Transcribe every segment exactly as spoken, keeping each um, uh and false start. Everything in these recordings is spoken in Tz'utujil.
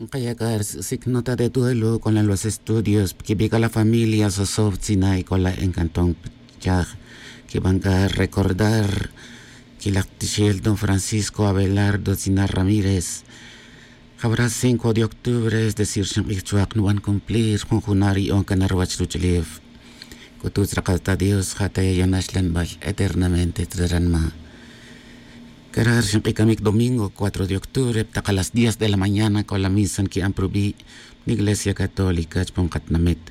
Nkaya' c'a sic nota de duelo con la los estudios quibi' c'a la familia sosob tzina y con la encantón chaj quiban c'a recordar quilak tixel don Francisco Abelardo tzina Ramírez. Jabra cinco de octubre es decir xink'ij chuak nuban cumplir jun juna' ri on cana ruwach ruch'ulef. C'ututz rakal ta dios ja' ta yayon axlanbal eternamente tzra ranma'. Cara' ri xink'ij camic domingo cuatro de octubre ptak a las diez de la mañana con la misa nqui'an pa rubi' iglesia católica chupan katinamit.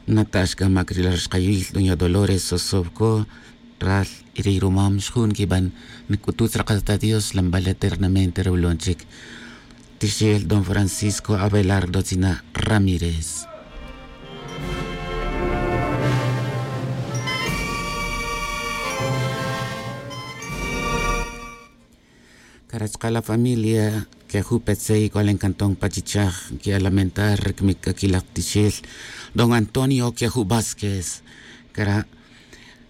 Nata' xcamac ri la ri xkayil doña dolores sosovco ral y ri rumam xjun nquiban. Nc'ututz rakal ta dios xlanbal eternamente rawilon chic tixel don francisco abelardo tzina ramírez. Cara' chka' la familia que jun petzey c'o la encantón pa chichaj nqui'an lamentar ri camic c'aquilak tixel don antonio que jun vásquez. Cara'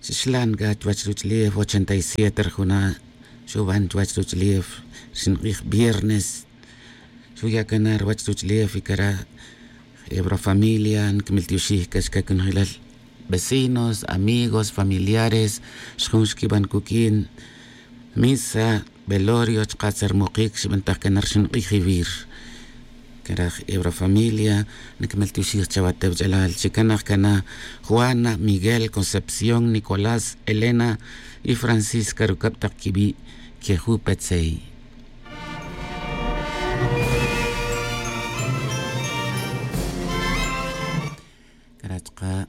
xixlan c'a chuwach ruch'ulef ochenta y siete ri juna' xuban chuwach ruch'ulef ri xink'ij viernes. Xuya' cana ruwach ruch'ulef y cara' ebra familia nquimiltioxij c'a chica conojilal vecinos amigos familiares xjun xquiban cuq'uin misa velorio chka' tzermukic xibantaj cana ri xink'ij ivir. Cara' ebra familia nquimiltioxij chawa tewch'alal chi canaj cana juana miguel concepción nicolás elena y francisca rucab tak quibi' que jun petzey. Cara' chka'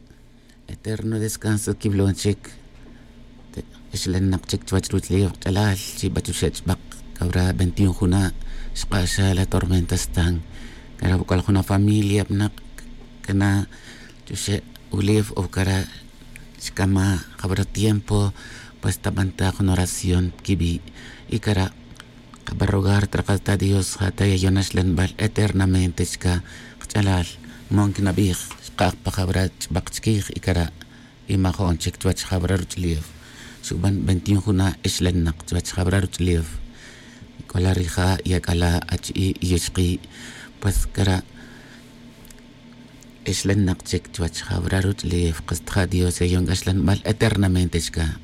eterno descanso quiwilon chic. Ixlanak chic chuwech ruwach'ulef kach'alal chi bachuxe' ch'bak cabra veintiun juna' xk'axa la tormenta stan. Cara' wuc'al juna' familia benak cana chuxe' wulef o cara' xcama' cabra tiempo. Pues tabanta jun oración quibi' y cara' kaba rogar trakal ta dios ja' ta yayon axlanbal eternamente chka kach'alal. Mon quinabij xkaj pa jabra ch'bak chikij y cara' y majo'n chic chuwech jabra ruch'ulef. Xuban veintiun juna' ixlanak chuwech jabra ruch'ulef. C'o la rija' y ac'ala' achi'i' y ixki'. Pues cara' ixlanak chic chuwech jabra ruch'ulef kas ta ja' dios yayon c'a xlanbal eternamente chka.